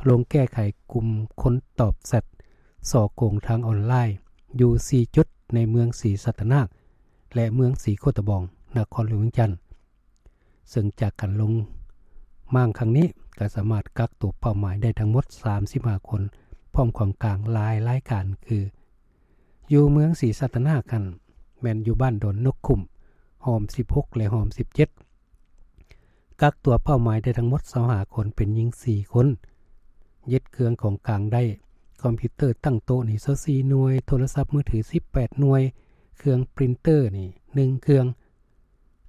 ລົງແກ້ໄຂກຸ່ມຄົນຕອບແຊັດສໍ້ໂກງທາງອອນລາຍຢູ່ສີ່ຈຸດໃນເມືອງສີສັດຕະນາກ ແລະ ເມືອງສີໂຄດຕະບອງ ນະຄອນຫຼວງວຽງຈັນ. ເຊິ່ງຈາກການລົງມ້າງຄັ້ງນີ້ ກໍສາມາດກັກຕົວເປົ້າໝາຍໄດ້ທັງໝົດສາມສິບຫ້າຄົນ ພ້ອມຂອງກາງຫຼາຍລາຍການ ຄື ຢູ່ເມືອງສີສັດຕະນາກຫັ້ນ ແມ່ນຢູ່ບ້ານດອນນົກຂຸ້ມ ຮ່ອມສິບຫົກ ແລະ ຮ່ອມສິບເຈັດ ກັກຕົວເປົ້າໝາຍໄດ້ທັງໝົດຊາວຫ້າຄົນ ເປັນຍິງສີ່ຄົນ, ຍຶດເຄື່ອງຂອງກາງໄດ້ ຄອມພິວເຕີຕັ້ງໂຕະນີ້ຊາວສີ່ໜ່ວຍ, ໂທລະສັບມືຖືສິບແປດໜ່ວຍ, ເຄື່ອງປຣິນເຕີນີ້ໜຶ່ງເຄື່ອງ,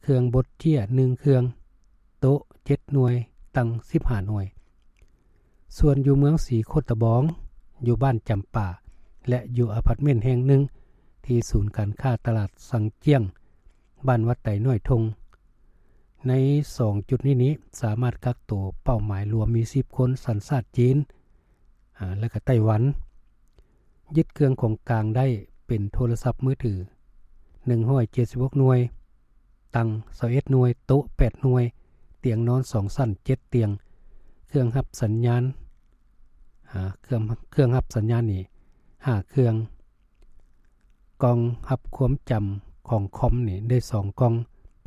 ເຄື່ອງບົດເຈ້ຍໜຶ່ງເຄື່ອງ, ໂຕະເຈັດໜ່ວຍ, ຕັ່ງສິບຫ້າໜ່ວຍ. ສ່ວນຢູ່ເມືອງສີໂຄດຕະບອງ, ຢູ່ບ້ານຈຳປາ ແລະ ຢູ່ອາພາດເມັນແຫ່ງໜຶ່ງ ທີ່ສູນການຄ້າຕະຫຼາດຊັງຈຽງ ບ້ານວັດໄຕນ້ອຍທົ່ງ. ໃນສອງຈຸດນີ້ນີ້ ສາມາດກັກໂຕເປົ້າໝາຍລວມມີສິບຄົນ ສັນຊາດຈີນ ອາ ແລະ ກະໄຕ້ຫວັນ. ຍຶດເຄື່ອງຂອງກາງໄດ້ເປັນໂທລະສັບມືຖືໜຶ່ງຮ້ອຍເຈັດສິບຫົກໜ່ວຍ, ຕັ່ງຊາວເອັດໜ່ວຍ, ໂຕະແປດໜ່ວຍ, ຕຽງນອນສອງຊັ້ນເຈັດຕຽງ, ເຄື່ອງຮັບສັນຍານ ອາ ເຄື່ອງ ເຄື່ອງຮັບສັນຍານນີ້ຫ້າເຄື່ອງ, ກ່ອງຮັບຄວາມຈຳຂອງຄອມນີ້ໄດ້ສອງກ່ອງ,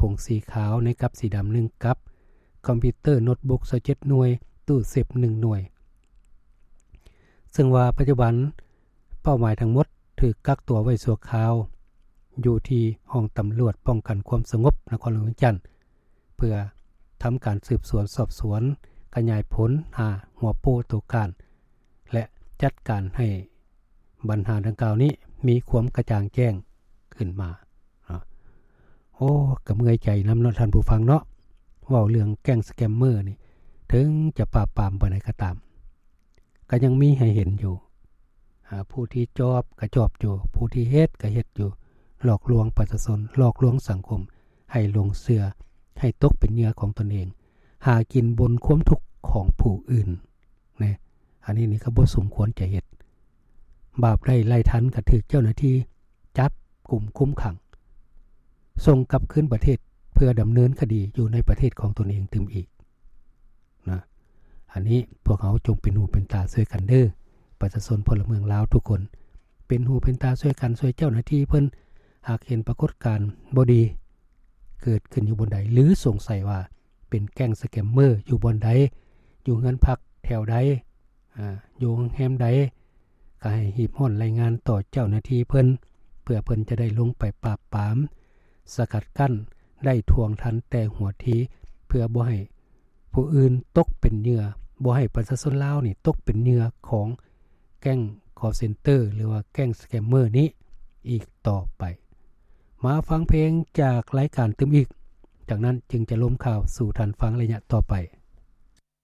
ຜົງສີຂາວໃນກັບສີດຳໜຶ່ງກັບ, ຄອມພິວເຕີໂນ້ດບຸກຊາວເຈັດໜ່ວຍ, ຕູ້ເຊບໜຶ່ງໜ່ວຍ. ເຊິ່ງວ່າປັດຈຸບັນເປົ້າໝາຍທັງໝົດຖືກກັກຕົວໄວ້ຊົ່ວຄາວຢູ່ທີ່ຫ້ອງຕຳຫຼວດປ້ອງກັນຄວາມສະຫງົບນະຄອນຫຼວງວຽງຈັນ ເພື່ອທຳການສືບສວນສອບສວນ, ຂະຫຍາຍຜົນຫາຫົວໂປ້ຕົວການ ແລະ ຈັດການໃຫ້ບັນຫາດັ່ງກ່າວນີ້ມີຄວາມກະຈ່າງແຈ້ງຂຶ້ນມາເນາະ. ໂອ້ ກະເມື່ອຍໃຈນຳເນາະທ່ານຜູ້ຟັງເນາະ, ເວົ້າເລື່ອງແກ້ງສະແກມເມີນີ້ ເຖິງຈະປາບປາມປານໃດກໍຕາມ ກໍຍັງມີໃຫ້ເຫັນຢູ່. ອາ ຜູ້ທີ່ຈອບກໍຈອບຢູ່, ຜູ້ທີ່ເຮັດກໍເຮັດຢູ່, ຫຼອກລວງປະຊາຊົນ, ຫຼອກລວງສັງຄົມ ໃຫ້ຫຼົງເຊື່ອ, ໃຫ້ຕົກເປັນເຫຍື່ອຂອງຕົນເອງ, ຫາກິນບົນຄວາມທຸກຂອງຜູ້ອື່ນນະ. ອັນນີ້ນີ້ກໍບໍ່ສົມຄວນຈະເຮັດ. ບາບໃດໄລ່ທັນກໍຖືກເຈົ້າໜ້າທີ່ຈັບກຸມຄຸມຂັງ, ສົ່ງກັບຄືນປະເທດເພື່ອດຳເນີນຄະດີຢູ່ໃນປະເທດຂອງຕົນເອງຕື່ມອີກນະ. ອັນນີ້ພວກເຮົາຈົ່ງເປັນຫູເປັນຕາຊ່ວຍກັນເດີ້ ປະຊາຊົນພົນລະເມືອງລາວທຸກຄົນ, ເປັນຫູເປັນຕາຊ່ວຍກັນ ຊ່ວຍເຈົ້າໜ້າທີ່ເພິ່ນ. ຫາກເຫັນປາກົດການບໍ່ດີເກີດຂຶ້ນຢູ່ບ່ອນໃດ ຫຼື ສົງໄສວ່າເປັນແກ້ງສະແກມເມີຢູ່ບ່ອນໃດ, ຢູ່ເຮືອນພັກແຖວໃດ, ອາ ຢູ່ໂຮງແຮມໃດ, ກໍໃຫ້ຮີບຮ້ອນລາຍງານຕໍ່ເຈົ້າໜ້າທີ່ເພິ່ນ ເພື່ອເພິ່ນຈະໄດ້ລົງໄປປາບປາມ, ສະກັດກັ້ນ, ໄດ້ທວງທັນແຕ່ຫົວທີ, ເພື່ອບໍ່ໃຫ້ຜູ້ອື່ນຕົກເປັນເຫຍື່ອ, ບໍ່ໃຫ້ປະຊາຊົນລາວນີ້ຕົກເປັນເຫຍື່ອຂອງແກ້ງຄອລເຊັນເຕີ ຫຼືວ່າແກ້ງສະແກມເມີນີ້ອີກຕໍ່ໄປ. ມາຟັງເພງຈາກລາຍການຕື່ມອີກ, ຈາກນັ້ນຈຶ່ງຈະລົມຂ່າວສູ່ທ່ານຟັງໄລຍະຕໍ່ໄປ.